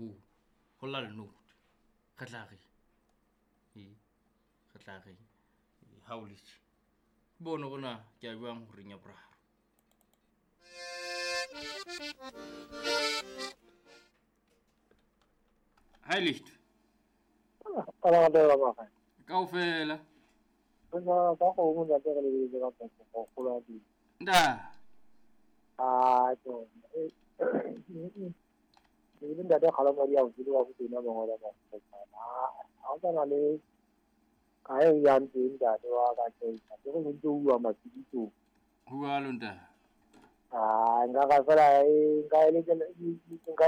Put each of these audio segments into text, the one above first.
robong go lla lenote re tla reng ee re tla reng ga o letse bone gona ke a jwang goreng ya boraro. Hi Licht. Kaofela. Nda. Ah, to. Ke ntate Kgalamadi a o tsile wa botena mangolo a ha o tsana le ka e yang teng ntate wa ka ke ke go ntse o bua matsiditsong. Jwalo ntate. Ah, nka ka fela nka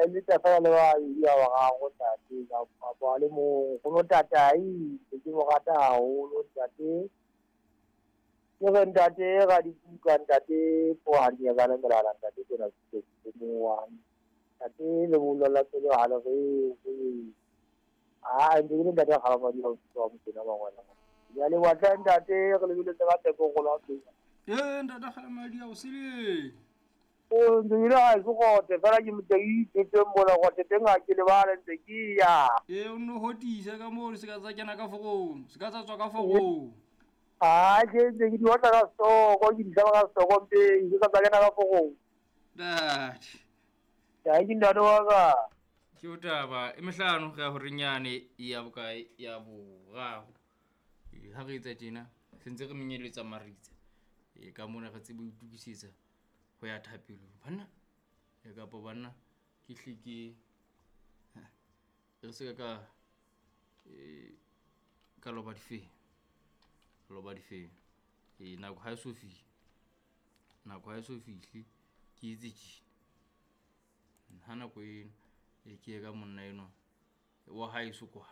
eletsa fela le ba ya wa gago ntate ka ba le mong go no tatai ke mo rata haholo ntate. Ke re ntate ga di buka ntate pohadi ya bana melala ntate ke na ke mo wa ntate le bollo la pele ha le re ah ndi le ntate ga ba di ho tswa mo tena ba ngwana ya le wa tla ntate re le bile tsa teko go la teng. Eh ntate ga madi a o sele. O ndi ile ha go gote fela ke motei ke mona go te teng a ke le bale ntse ke ya. Eh o no hotisa ka mo se ka tsa kena ka forong, se ka tsa tswa ka forong. Ah ke ntse ke di otla ka soko, ke di ka soko mpe ke ka tsa kena ka forong. Ntate. Ya ke ntate wa ka. Ke taba e mehlano re ya hore nyane ya bokae ya boraro. Ha re etsa tjena sentse re menyeletsa maritsa. E ka mona re tsebe ho itokisetsa ho ya thapelong banna e kapa banna ke hle ke re se ka ka loba difeng e nako ha e so fihle ke itse tjena ha nako eno e ke ka monna eno wa hae so kwa.